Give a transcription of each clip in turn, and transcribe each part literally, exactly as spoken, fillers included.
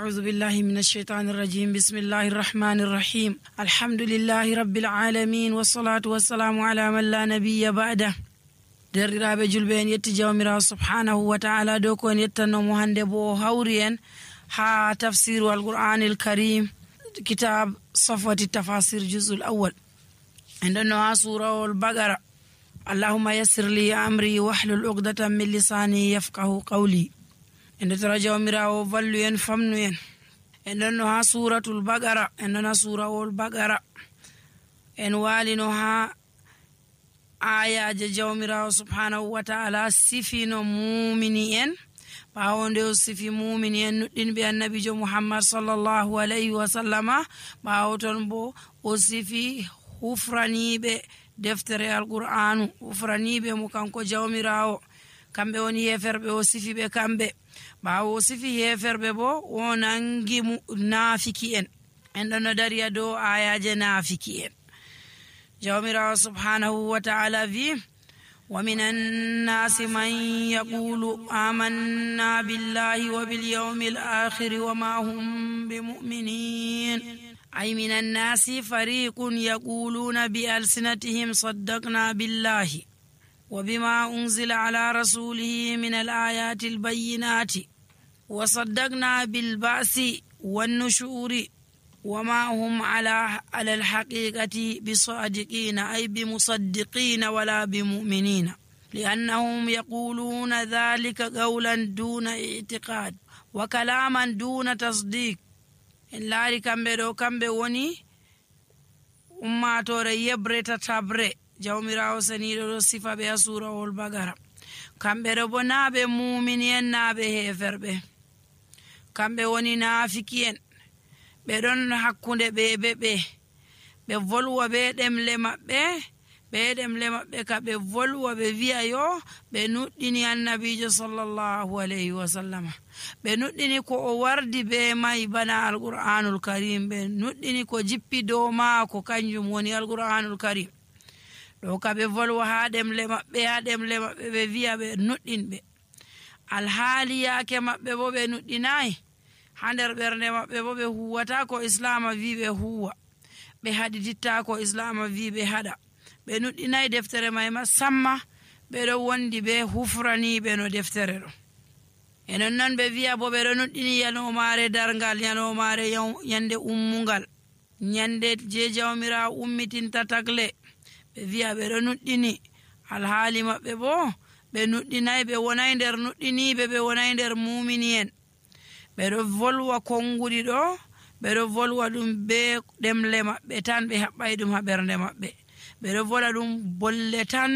أعوذ بالله من الشيطان الرجيم بسم الله الرحمن الرحيم الحمد لله رب العالمين والصلاة والسلام على من لا نبي بعده derriraɓe julɓe en yetti jawmirawo subhanahu wa ta'ala dow ko en yettannomo hande bo hawri en ha tafsiru alqur'anil karim kitab safwati tafasir juz'ul awwal en ɗonno ha surawol bagara allahumma yassir li amri wahlul uqdatan min lisani yafqahu qawli en dettora jawmirawo vallu en famnu en en ɗonno ha suratul bagara en ɗon ha surawol bagara en walino ha ayaje jawmirawo subhanahu wa ta'ala sifino mumini en ɓawo nde o sifi mumini en nuɗɗinɓe annabijo muhammad sallallahu alayhi wa sallama ɓawo ton bo o sifi hufraniɓe deftere alqur'anu hufraniɓe mo kanko jawmirawo kamɓe woni heferɓe o sifiɓe kamɓe ɓawo o sifi heferɓe bo o nangi nafiki en en ɗon no dariya dow ayaje nafiki en jawmirawo subhanahu wa ta'ala vi wa minan nasi man yaqulu amanna billahi wa bil yawmil akhir wa ma hum bimu'minin ay minan nasi fariqun yaquluna bi alsinatihim saddaqna billahi wa bima unzila ala rasulihi min al ayati al bayyinati wa saddaqna bil ba'si wan nushuri وما هم على على الحقيقة بصادقين أي بمصدقين ولا بمؤمنين لأنهم يقولون ذلك قولا دون اعتقاد وكلاما دون تصديق إن لاري كمبه دو كمبه وني أما توري يبري تتبري جاوميراو سنيدو صفة بها سورة والبقرة كمبه دو نابه مؤمنين نابه هفربه كمبه وني نافكين ɓe ɗon hakkunde ɓe ɓe ɓe ɓe volwa ɓe ɗemle maɓɓe ɓe ɗemle maɓɓe ka ɓe volwa ɓe wi'a yo ɓe nuɗɗini annabijo sallallahu alayhi wa sallama ɓe nuɗɗini ko o wardi ɓe mai bana alqur'anul karim ɓe nuɗɗini ko jippi dow maako kanjum woni alqur'anul karim ɗo ka ɓe volwa ha ɗemle maɓɓe ha ɗemle maɓɓe ɓe wi'a ɓe nuɗɗinɓe alhaali yaake maɓɓe bo ɓe nuɗɗinayi ha nder ɓernde maɓɓe bo ɓe huwata ko islama wi ɓe huwa ɓe haɗititta ko islama wi ɓe haɗa ɓe nuɗɗinayi deftere may ma samma ɓeɗo wondi ɓe hufraniɓe no deftere ɗo enon noon ɓe wiya bo ɓeɗo nuɗɗini yanomare dargal yanomare yande ummungal nyande je jawmira ummitinta tagle ɓe wiya ɓeɗo nuɗɗini alhaali maɓɓe bo ɓe nuɗɗinayi ɓe wonay nder nuɗɗiniɓe ɓe wonay nder mumini en ɓeɗo volwa konngudi ɗo ɓeɗo volwa ɗum be ɗemle maɓɓe tan ɓe haɓɓay ɗum ha ɓernde maɓɓe ɓeɗo vola ɗum bolle tan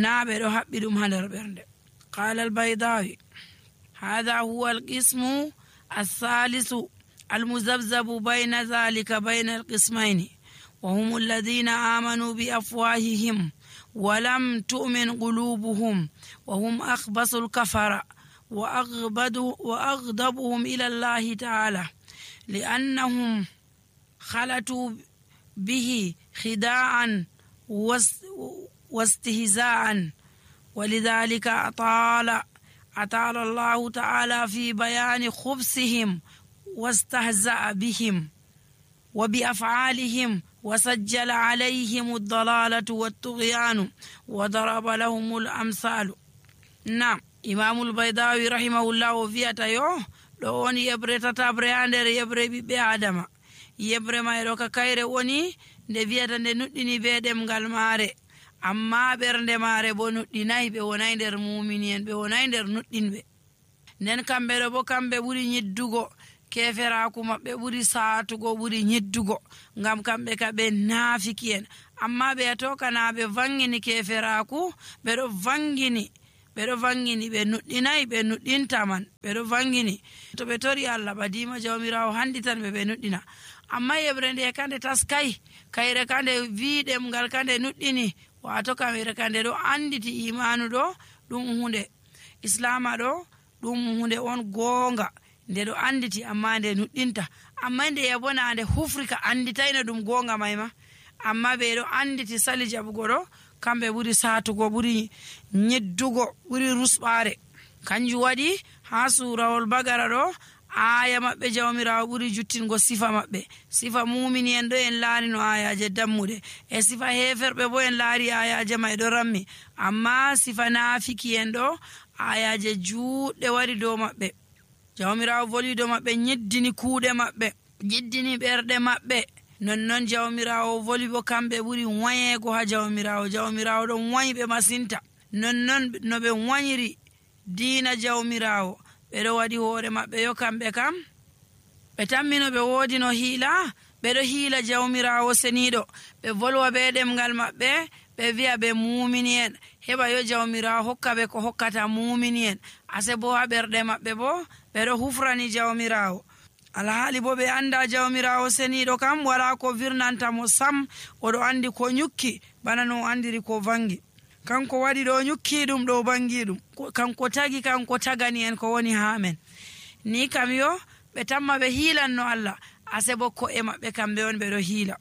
na ɓeɗo haɓɓi ɗum ha nder ɓernde qala albaydawi hadha huwa alqismu althalisu almuzabzabu bayna dhalika bayna alqismayni wa hum alladhina amanu bi afwahihim wa lam tu'min qulubuhum wa hum akhbasu alkafara وأغضبهم إلى الله تعالى لأنهم خلطوا به خداعا واستهزاء ولذلك أطال أطال الله تعالى في بيان خبثهم واستهزأ بهم وبأفعالهم وسجل عليهم الضلالة والطغيان وضرب لهم الأمثال. نعم imamul baydawi rahimahullahu wiyata yo ɗo woni yebre tatabre ha nder yebre ɓiɓɓe adama yebre may ɗo ka kayre woni nde wiyata nde nuɗɗini be ɗemgal maare amma ɓernde maare bo nuɗɗinayi ɓe wonay nder mumini en ɓe wonay nder nuɗɗinɓe nden kamɓe ɗo bo kamɓe ɓuri ñiddugo keferaku maɓɓe ɓuri saatugo ɓuri ñiddugo ngam kamɓe ka ɓe naafiki en amma ɓe yato kana ɓe vangini keferaku ɓeɗo vangini ɓeɗo vangini ɓe nuɗɗinayi ɓe nuɗɗinta man ɓeɗo vangini to ɓe tori allah ɓadima jawmirawo handitan ɓe ɓe nuɗɗina amma yeɓre nde kande taskayi kayre kande wi ɗemgal kande nuɗɗini wato kamere kande ɗo anditi imanu ɗo ɗum hunde islama ɗo ɗum hunde on goonga nde ɗo anditi amma nde nuɗɗinta amma nde yabona nde hufrika anditayno ɗum goonga mayma amma ɓeɗo anditi sali jaɓugo ɗo kamɓe ɓuri satugo ɓuri ñeddugo ɓuri rusɓare kanjum waɗi ha surawol bagara ɗo aya maɓɓe jawmirawo ɓuri juttingo sifa maɓɓe. Sifa mumini en ɗo en laari no ayaje dammuɗe, e sifa heferɓe bo en laari ayaje may ɗo rammi, amma sifa nafiki en ɗo ayaje juɗɗe wari dow maɓɓe. Jawmirawo voli dow maɓɓe, nyiddini kuuɗe maɓɓe, jiddini ɓerɗe maɓɓe. Nonnon jawmirawo voli bo kamɓe ɓuri wayego ha jawmirawo. Jawmirawo ɗon wayɓe masinta. Nonnon no ɓe wayiri diina jawmirawo, ɓeɗo waɗi hoore maɓɓe yo kamɓe kam ɓe tammino ɓe woodi no hiila, ɓeɗo hiila jawmirawo seniɗo. Ɓe volwa be ɗemgal maɓɓe, ɓe wi'a ɓe mumini en, heɓa yo jawmirawo hokka ɓe ko hokkata mumini en. Ase bo ha ɓerɗe maɓɓe bo ɓeɗo hufrani jawmirawo. Alhaali bo ɓe anda jawmirawo seniɗo kam wala ko virnanta mo sam, oɗo andi ko nyukki bana no andiri ko vangi. Kanko waɗi ɗo nyukki ɗum ɗo bangi ɗum, kanko tagi kanko tagani en ko woni ha men. Ni kam yo ɓe tamma ɓe hiilanno Allah, ase bo ko'e maɓɓe kamɓe on ɓeɗo hiila.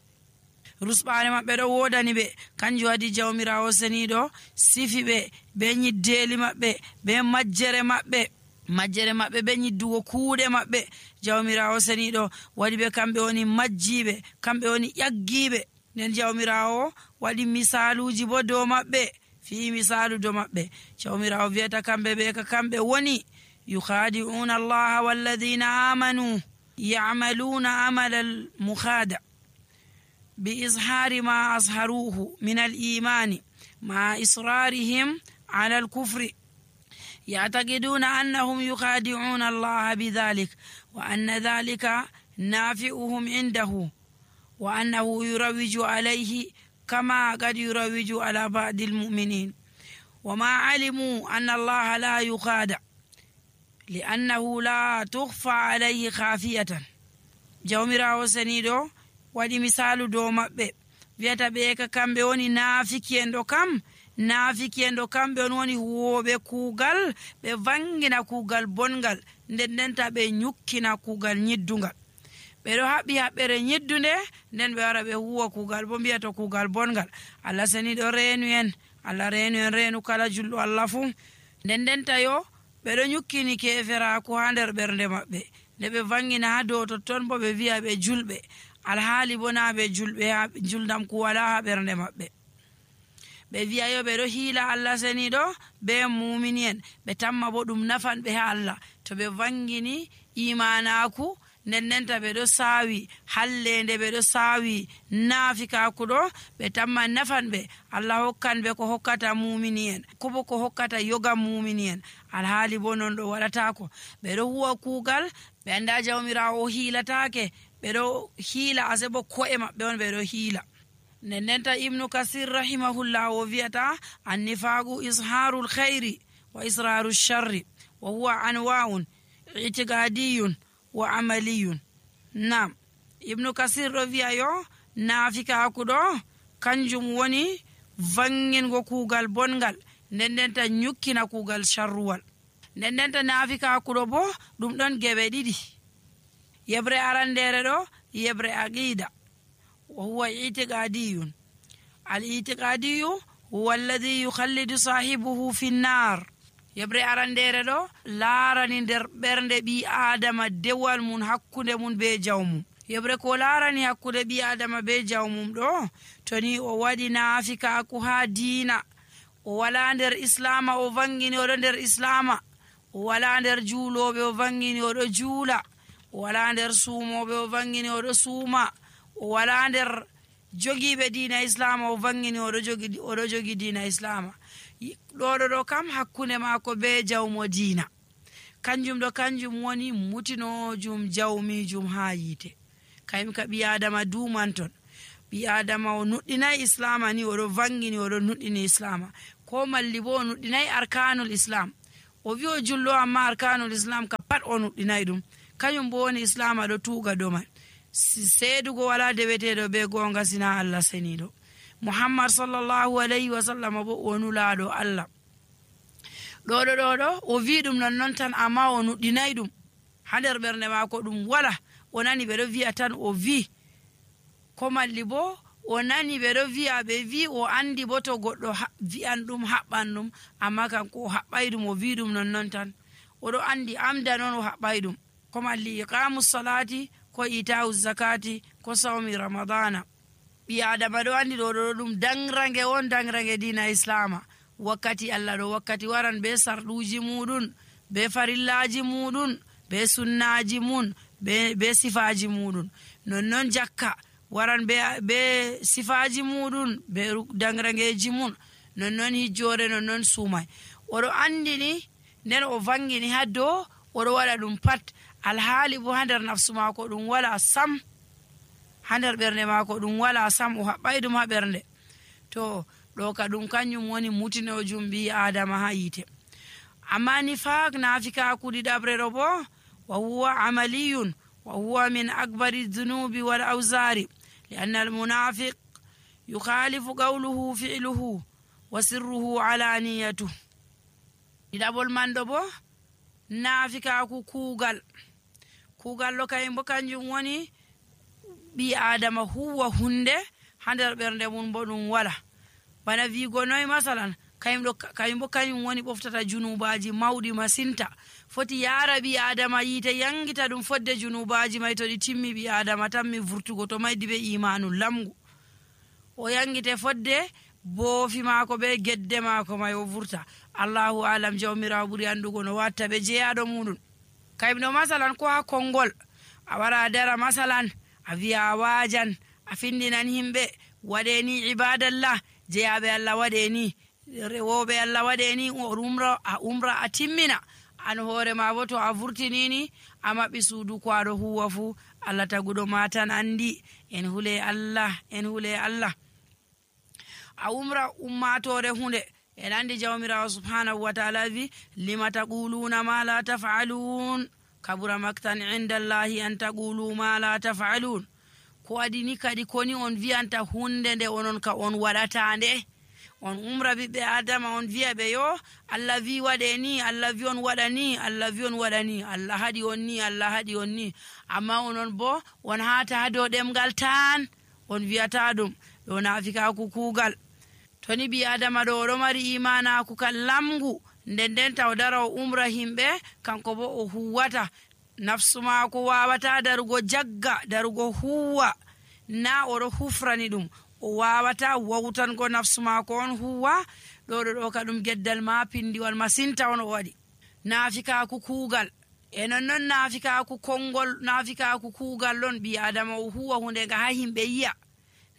Rusɓare maɓɓe ɗo wodani ɓe, kanjum waɗi jawmirawo seniɗo sifi ɓe be nyiddeli maɓɓe, be majjere maɓɓe majjere maɓɓe be nyiddugo kuuɗe maɓɓe. Jawmirawo seniɗo waɗi ɓe kamɓe woni majjiɓe, kamɓe woni ƴaggiɓe. Nden jawmirawo waɗi misaluji bo dow maɓɓe, fi misalu dow maɓɓe. Jawmirawo wiyata kamɓe ɓe ka kamɓe woni yukhadi'una allaha walladhina amanu ya'maluna amala al-mukhada bi izhari ma azharuhu min al-imani ma israrihim ala al-kufri يعتقدون أنهم يخادعون الله بذلك وأن ذلك نافعهم عنده وأنه يروج عليه كما قد يروج على بعض المؤمنين وما علموا أن الله لا يخادع لأنه لا تخفى عليه خافية. jawmirawo seniɗo waɗi misalu dow maɓɓe, wiyata ɓe ka kamɓe woni naafiki en ɗo kam naafiki en ɗo kamɓe on woni huwoɓe kuugal, ɓe vangina kuugal bongal, nden ndenta ɓe nyukkina kuugal nyiddungal. ɓeɗo haɓɓi haɓɓere nyiddunde, nden ɓe wara ɓe huwa kuugal bo mbiya to kuugal bongal. Allah seniɗo reenu en, Allah reenu en reenu kala julɗo Allah fuu. nden ndenta yo ɓeɗo nyukkini keferaku ha nder ɓernde maɓɓe, nde ɓe vangina ha dow totton bo ɓe wiya ɓe julɓe, alhaali bo na ɓe julɓe, ha juldam ku wala ha ɓernde maɓɓe. ɓe wiya yo ɓeɗo hiila Allah seniɗo be mumini en, ɓe tamma bo ɗum nafan ɓe ha Allah to ɓe vangini imanaku, nden ndenta ɓeɗo saawi hallende, ɓeɗo saawi naafikaku ɗo, ɓe tamma nafan ɓe. Allah hokkan ɓe ko hokkata mumini en, kobo ko hokkata yoga mumini en, alhaali bo non ɗo waɗatako. ɓeɗo huwa kuugal ɓe anda jawmirawo hiilatake, ɓeɗo hiila ase bo ko'e maɓɓe on ɓeɗo hiila. nden ndenta ibnu kasir rahimahullah o wiyata annifagu isharul khayri wa israru sharri wa huwa anwa'un itiqadiyun wa amaliyun. Nam ibnu kasir ɗo wiya yo naafikaku ɗo kanjum woni vangingo kuugal bongal, nden ndenta nyukkina kuugal sharruwal. nden ndenta naafikaku ɗo bo ɗum ɗon geɓe ɗiɗi. yebre arandere ɗo yebre aqida wa huwa itiqadiyun. al itiqadiyu huwa alladhi yukhallidu sahibuhu fi nnar. yebre arandere ɗo laarani nder ɓernde ɓi adama dewal mum hakkunde mum be jawmum. yebre ko laarani hakkunde ɓi adama be jawmum ɗo, to ni o waɗi naafikaku ha diina, o wala nder islama, o vangini oɗo nder islama, o wala nder juuloɓe, o vangini oɗo juula, o wala nder suumoɓe, o vangini oɗo suuma, o wala nder jogiiɓe diina islama, o vangini oɗo jogi oɗo jogi diina islama. ɗoɗo ɗo kam hakkunde maako be jawmo diina, kanjum ɗo kanjum woni mutinojum jawmijum ha yiite. kayim ka ɓi adama dumanton, ɓi adama o nuɗɗinayi islama ni oɗo vangini oɗo nuɗɗini islama, ko malli bo o nuɗɗinayi arkanul islam, o wi o jullo amma arkanul islam ka pat o nuɗɗinayi ɗum, kañum bo woni islama ɗo tuuga dow man. seedugo wala deweteɗo be gonga sina Allah seniɗo. Muhammad sallallahu alayhi wa sallam bo o nulaɗo Allah. ɗoɗo ɗoɗo o wi ɗum nonnon tan, amma o nuɗɗinayi ɗum ha nder ɓernde maako, ɗum wala. o nani ɓeɗo wi'a tan o wi, ko malli bo o nani ɓeɗo wi'a ɓe wi, o andi bo to goɗɗo wi'an ɗum haɓɓan ɗum, amma kanko o haɓɓay ɗum, o wi ɗum nonnon tan, oɗo andi amda noon o haɓɓay ɗum. ko malli iqamu salati ko ita'u zakati ko sawmi ramadana. ɓi adama ɗo andi ɗo ɗo ɗum dangrange on, dangrange dina islama. wakkati Allah ɗo wakkati waran be sarɗuji muɗum, be farillaji muɗum, be sunnaji mun, be, be sifaji muɗum. nonnon jakka waran be, be sifaji muɗum, be dangrangeji mun. nonnon hijjore, nonnon sumai. oɗo andini nden o vangini ha dow oɗo waɗa ɗum pat, alhaali bo ha nder nafsu mako ɗum wala sam, ha nder ɓernde mako ɗum wala sam, o haɓɓay ɗum ha ɓernde. to ɗo ka ɗum kanjum woni mutinojum bi adama ha yite. amma nifaq nafikaku ɗiɗaɓre ɗo bo wa huwa amaliyun wa huwa min akbari dhunubi wal awzari li anna al munafiq yukhalifu qawluhu fi'luhu wa sirruhu alaniyatu. ɗiɗaɓol man ɗo bo nafikaku kuugal. kuugal ɗo kayum bo kanjum woni ɓi adama huwa hunde ha nder ɓernde mum bo ɗum wala. bana wigo noy masalan, kayum ɗo kayum bo kayum woni ɓoftata junubaji mawɗi masinta. foti yara ɓi adama yite yangita ɗum fodde junubaji may to ɗi timmi ɓi adama tammi vurtugo to maydi be imanu lamgu, o yangite fodde boofi maako be gedde maako may o vurta. allahu alam, jawmirawo ɓuri andugo no watta ɓe jeyaɗo muɗum. kayum ɗo masalan ko ha konngol a wara dara masalan a wiya a wajan a findinan himɓe waɗe ni ibadallah, jeyaɓe Allah waɗe ni, rewoɓe Allah waɗe ni, umra a umra a timmina, an hoore ma bo to a vurtinini a maɓɓi suudu ko aɗo huwa fu Allah taguɗo ma tan andi. en hule Allah, en hule Allah. a umra ummatore hunde, en andi jawmirawo subhanahu wa ta'ala wi lima taquluna ma la taf'alun kabura maktan indallahi an taqulu ma la taf'alun. ko adini kadi koni on wiyanta hunde nde onon ka on waɗata nde. on umra ɓiɓɓe adama on wiya ɓe yo Allah wi waɗe ni, Allah wi on waɗa ni, Allah wi on waɗa ni, Allah haɗi on ni, Allah haɗi on ni, amma onon bo on hata ha dow ɗemgal tan on wiyata ɗum. ɗo nafikaku kuugal. to ni ɓi adama ɗo oɗo mari imanaku kan lamgu, nden nden taw dara o umra himɓe, kanko bo o huwata. nafsu maako wawata darugo jagga, darugo huwa, na oɗo hufrani ɗum, o wawata wawtango nafsu maako on huwa. ɗo ɗo ɗo ka ɗum geddal ma pindiwal masinta on o waɗi. nafikaku kuugal. e nonnon nafikaku konngol, nafikaku kuugal ɗon ɓi adama o huwa hunde nga ha himɓe yiya,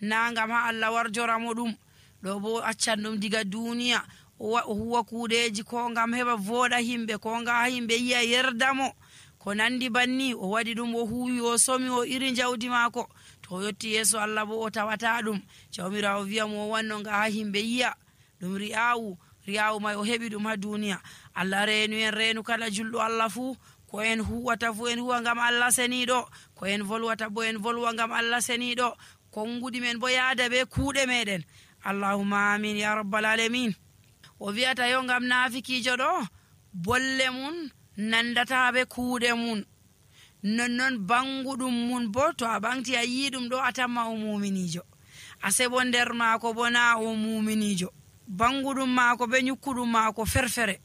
na ngam ha Allah warjoramo ɗum. ɗo bo accan ɗum diga duniya, o huwa kuuɗeji ko ngam heɓa voɗa himɓe, ko ngam ha himɓe yiya yerdamo, ko nandi banni. o waɗi ɗum, o huwi, o somi, o iri jawdi maako. to o yetti yeeso Allah bo o tawata ɗum. jawmirawo wiyamo o wanno nga ha himɓe yiya. ɗum ri'awu, ri'awu may o heɓi ɗum ha duniya. Allah reenu en reenu kala julɗo Allah fuu, ko en huwata fuu en huwa ngam Allah seniɗo, ko en volwata bo en volwa ngam Allah seniɗo, konguɗi men bo yaada be kuuɗe meɗen. allahumma amin ya rabbal alamin. o wiyata yo ngam nafikijo ɗo bolle mun nandata be kuuɗe mun, nonnon banguɗum mun bo to a ɓangti a yi ɗum ɗo a tamma o muminijo, a sebo nder maako bo na o muminijo. banguɗum maako be ñukkuɗum maako ferfere,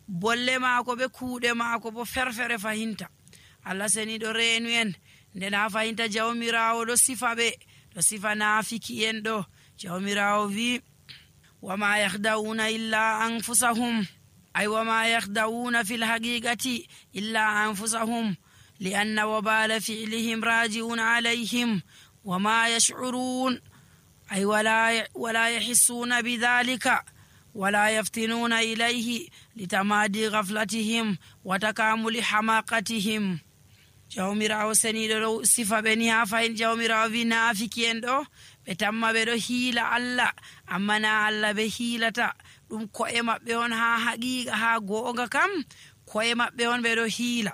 bolle maako be kuuɗe maako bo ferfere fahinta. Allah seniɗo reenu en, nden ha fahinta jawmirawo ɗo sifa ɓe, ɗo sifa nafiki en ɗo. jawmirawo wi wama yahdawuna illa anfusahum, ay wama yahdawuna fi lhaqiqati illa anfusahum lianna wabala fi'lihim raji'un alayhim wama yash'urun, ay wala, wala yahissuna bidhalika wala yaftinuna ilayhi litamadi ghaflatihim wa takamuli hamaqatihim. jawmirawo seniɗo ɗo sifa ɓe ni ha fayin. jawmirawo wi nafiki en ɗo ɓe tamma ɓe ɗo hiila Allah, amma na Allah ɓe hiilata ɗum. ko'e maɓɓe on ha haqiqa, ha goonga kam ko'e maɓɓe on ɓe ɗo hiila.